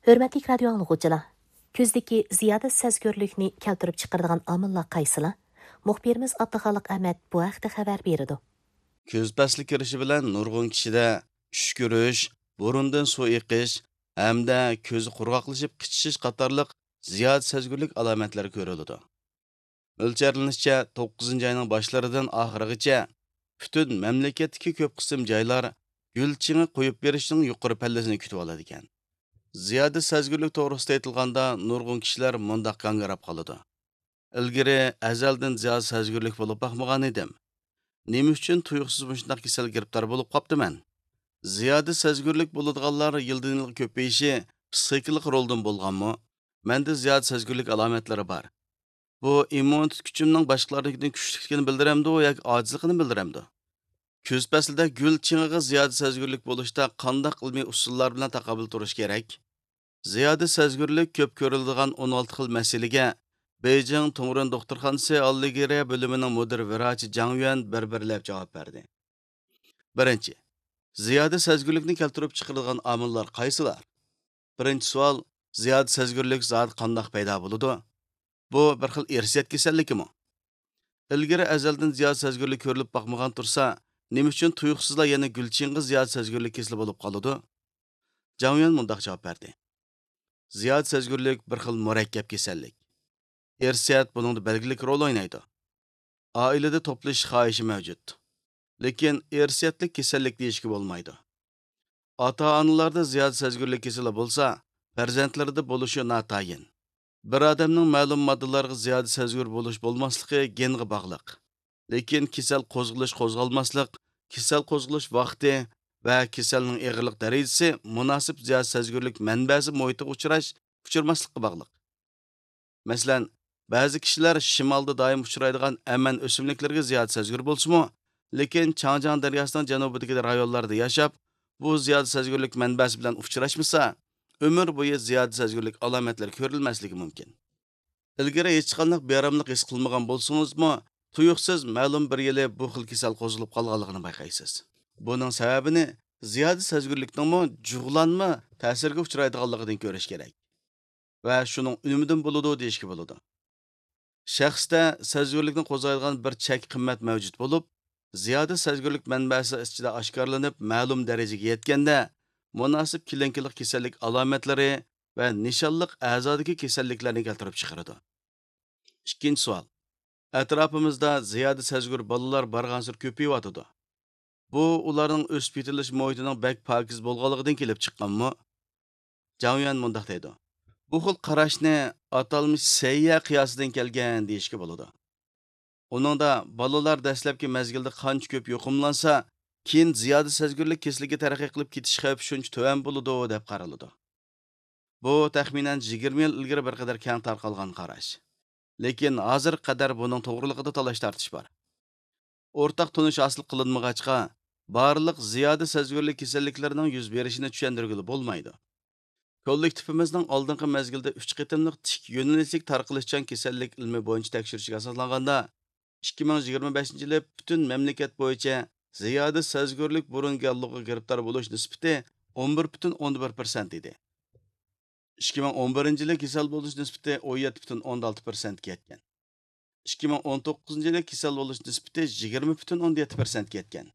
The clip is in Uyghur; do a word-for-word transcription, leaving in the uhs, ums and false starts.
ھۆرمەتلىك رادىيو ئاڭلىغۇچىلار، كۈزدىكى زىيادە سەزگۈرلۈكنى كەلتۈرۈپ چىقىرىدىغان ئامىللار قايسىلار؟ مۇخبىرىمىز ئابدۇخالىق ئەمەت بۇ ھەقتە خەۋەر بېرىدۇ. كۈز پەسلى كىرىشى بىلەن نۇرغۇن كىشىدە چۈشكۈرۈش، بۇرۇندىن سۇ ئېقىش ھەمدە كۆزى قۇرغاقلىشىپ قىچىشىش قاتارلىق زىيادە سەزگۈرلۈك ئالامەتلىرى كۆرۈلىدۇ. مۆلچەرلىنىشىچە، توققۇزىنچى ئاينىڭ باشلىرىدىن ئاخىرىغىچە پۈتۈن مەملىكەتتىكى كۆپ قىسىم جايلار گۈل چېڭى قويۇپ بېرىشنىڭ يۇقىرى پەللىسىنى كۈتۈۋالىدىكەن. زىيادە سەزگۈرلۈك توغرىسىدا ئېيتىلغاندا، نۇرغۇن كىشىلەر مۇنداق گاڭگىراپ قالىدۇ: «ئىلگىرى ئەزەلدىن زىيادە سەزگۈرلۈك بولۇپ باقمىغان ئىدىم. نېمە ئۈچۈن تۇيۇقسىز مۇشۇنداق كېسەلگە گىرىپتار بولۇپ قاپتىمەن؟» زىيادە سەزگۈرلۈك بولىدىغانلار يىلدىن يىلغا كۆپىيىشى پسىخىكىلىق رولدىن بولغانمۇ؟ مەندە زىيادە سەزگۈرلۈك ئالامەتلىرى بار. بۇ ئىممۇنىتېت كۈچۈمنىڭ باشقىلاردىكىدىن كۈچلۈكلۈكىنى بىلدۈرەمدۇ ياكى ئاجىزلىقىنى بىلدۈرەمدۇ؟ كۈز پەسلىدە گۈل چېڭىغا زىيادە سەزگۈرلۈك بولۇشتا قانداق ئىلمىي ئۇسۇللار بىلەن تاقابىل تۇرۇش كېرەك؟ زىيادە سەزگۈرلۈك كۆپ كۆرۈلىدىغان ئون ئالتە خىل مەسىلىگە بېيجىڭ تۇڭرۇن دوختۇرخانىسى ئاللىگېرىيە بۆلۈمىنىڭ مۇدىر ۋراچى جاڭ يۈەن بىر-بىرلەپ جاۋاب بەردى. بىرىنچى، زىيادە سەزگۈرلۈكنى كەلتۈرۈپ چىقىرىدىغان ئامىللار قايسىلار؟ بىرىنچى سوئال، زىيادە سەزگۈرلۈك زادى قانداق پەيدا بولىدۇ؟ بۇ بىر خىل ئىرسىيەت كېسەللىكىمۇ؟ ئىلگىرى ئەزەلدىن زىيادە سەزگۈرلۈك كۆرۈلۈپ باقمىغان تۇرسا، نېمە ئۈچۈن تۇيۇقسىزلا يەنە گۈلچىڭغا زىيادە سەزگۈرلۈك كېسىلى بولۇپ قالىدۇ؟ جاڭ يۈەن مۇنداق جاۋاب بەردى: زىيادە سەزگۈرلۈك بىر خىل مۇرەككەپ كېسەللىك. ئىرسىيەت بۇنىڭدا بەلگىلىك رول ئوينايدۇ. ئائىلىدە توپلىشىش خاھىشى مەۋجۇت. لېكىن ئىرسىيەتلىك كېسەللىك دېيىشكە بولمايدۇ. ئاتا-ئانىلاردا زىيادە سەزگۈرلۈك كېسىلى بولسا، پەرزەنتلىرىدە بولۇشى ناتايىن. بىر ئادەمنىڭ مەلۇم ماددىلارغا زىيادە سەزگۈر بولۇش بولماسلىقى گېنغا باغلىق. لېكىن كېسەل قوزغىلىش قوزغالماسلىق، كېسەل قوزغىلىش ۋاقتى ۋە كېسەلنىڭ ئېغىرلىق دەرىجىسى مۇناسىپ زىيادە سەزگۈرلۈك مەنبەسى مۇھىتىغا ئۇچراش، ئۇچرىماسلىققا باغلىق. مەسىلەن، بەزى كىشىلەر شىمالدا دائىم ئۇچرايدىغان ئەمەن ئۆسۈملۈكلىرىگە زىيادە سەزگۈر بولسىمۇ، لېكىن چاڭجياڭ دەرياسىنىڭ جەنۇبىدىكى رايونلاردا ياشاپ، بۇ زىيادە سەزگۈرلۈك مەنبەسى بىلەن ئۇچراشمىسا، ئۆمۈر بويى زىيادە سەزگۈرلۈك ئالامەتلىرى كۆرۈلمەسلىكى مۇمكىن. ئىلگىرى ھېچقانداق بىئاراملىق ھېس قىلمىغان بولسىڭىزمۇ، تۇيۇقسىز مەلۇم بىر يىلى بۇ خىل كېسەل قوزغىلىپ قالغانلىقىنى بايقايسىز. بۇنىڭ سەۋەبىنى زىيادە سەزگۈرلۈكنىڭمۇ جۇغلانما تەسىرگە ئۇچرايدىغانلىقىدىن كۆرۈش كېرەك. ۋە شۇنىڭ ئۈنۈمىدىن بولىدۇ دېيىشكە بولىدۇ. شەخستە سەزگۈرلۈكنى قوزغايدىغان بىر چەك قىممەت مەۋجۇت بولۇپ، زىيادە سەزگۈرلۈك مەنبەسى ئىچىدە ئاشكارىلىنىپ مەلۇم دەرىجىگە يەتكەندە، مۇناسىپ كېلىنكىلىق كېسەللىك ئالامەتلىرى ۋە نىشانلىق ئەزادىكى كېسەللىكلەرنى كەلتۈرۈپ چىقىرىدۇ. ئىككىنچى سوئال. ئەتراپىمىزدا زىيادە سەزگۈر بالىلار بارغانسېرى كۆپىيىۋاتىدۇ. بۇ ئۇلارنىڭ ئۆسۈپ يېتىلىش مۇھىتىنىڭ بەك پاكىز بولغانلىقىدىن كېلىپ چىققانمۇ؟ جاڭ يۈەن مۇنداق دەيدۇ: بۇ خىل قاراشنى ئاتالمىش سەييە قىياسىدىن كەلگەن دېيىشكە بولىدۇ. ئۇنىڭدا بالىلار دەسلەپكى مەزگىلدە قانچە كۆپ يۇقۇملانسا، كېيىن زىيادە سەزگۈرلۈك كېسىلىگە تەرەققىي قىلىپ كېتىش خەۋپى شۇنچە تۆۋەن بولىدۇ، دەپ قارىلىدۇ. بۇ تەخمىنەن يىگىرمە يىل ئىلگىرى بىر قەدەر كەڭ تارقالغان قاراش. لېكىن ھازىرغا قەدەر بۇنىڭ توغرىلىقىدا تالاش-تارتىش بار. ئورتاق تونۇش ھاسىل قىلىنمىغاچقا، بارلىق زىيادە سەزگۈرلۈك كېسەللىكلىرىنىڭ يۈز بېرىشىنى چۈشەندۈرگىلى بولمايدۇ. كوللېكتىپىمىزنىڭ ئالدىنقى مەزگىلدە ئۈچ قېتىملىق تىك يۆنىلىشلىك تارقىلىشچان كېسەللىك ئىلمىي بويىچە تەكشۈرۈشىگە ئاساسلانغاندا، ئىككى مىڭ يىگىرمە بەشىنچى يىلى پۈتۈن مەملىكەت بويىچە زىيادە سەزگۈرلۈك بۇرۇن گاللۇغىغا گىرىپتار بولۇش نىسبىتى ئون بىر پۈتۈن ئوندىن بىر پىرسەنت ئىدى. ئىككى مىڭ ئون بىرىنچى يىلى كېسەل بولۇش نىسبىتى ئون يەتتە پۈتۈن ئوندىن ئالتە پىرسەنتكە يەتكەن. ئىككى مىڭ ئون توققۇزىنچى يىلى كېسەل بولۇش نىسبىتى يىگىرمە پۈتۈن ئوندىن يەتتە پىرسەنتكە يەتكەن.